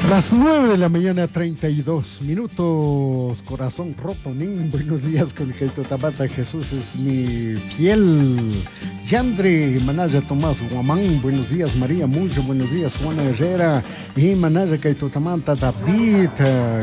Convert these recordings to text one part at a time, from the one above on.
Las 9 de la mañana, 32 minutos. Corazón roto, nin. Buenos días con Tabata. Jesús es mi fiel. Yandre, Manaya Tomás Guamán. Buenos días, María Mucho. Buenos días, Juana Herrera. Y Manaya Kaitotamanta David.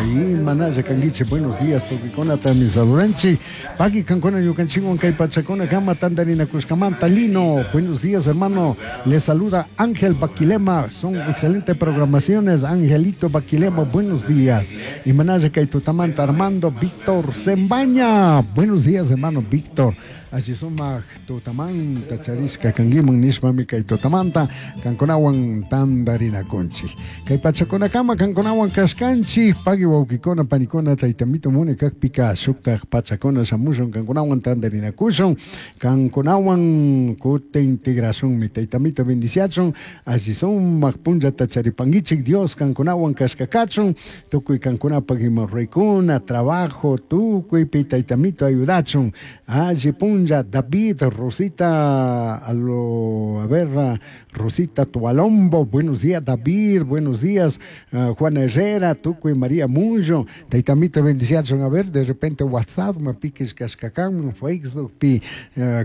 Y Manaya Kanguiche. Buenos días, Tokikona Tamisaduranchi. Paqui Cancona Yucanchihuan Kaipachacona Gama Tandarina Cuscamanta Lino. Buenos días, hermano. Les saluda Ángel Baquilema. Son excelentes programaciones. Angelito Baquilema, buenos días. Y Manaya Kaitutamanta Armando Víctor Zembaña. Buenos días, hermano Víctor. Así sumaq tutamanta charishka kankiman nishpami kay tutamanta kankunawan tantarinakunchik. Kay pachakunakama kankunawan kashkanchik paqui wawqikuna panikuna taytamito muni kakpika shuktak pachakuna shamushun kankunawan tantarinakushun kankunawan kutin integracionmi taytamito bendiciachun alli sumaq punllata charipankichik Dios kankunawan kashkakachun tukuy kankunapak ima ruraykuna trabajo tukuypi taytamito ayudachun alli punlla David, Rosita, a, lo, a ver, Rosita Tualombo, buenos días David, buenos días Juana Herrera, Tuco y María Mullo, Taitamita bendiciachun, a ver, de repente WhatsApp, ma piques kashkakan, Facebook, pi,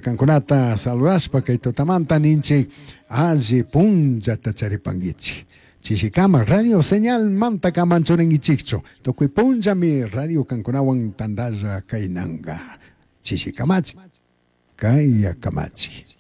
kankunata saludashpa, kay tutamanta ninchik, alli punllata charipankichik. Chishikama, radio señal manta kamanchurinkichikchu, tukuy punllami radio kankunawan tantalla kaynanga. Chishikamachi, kaya kamachi.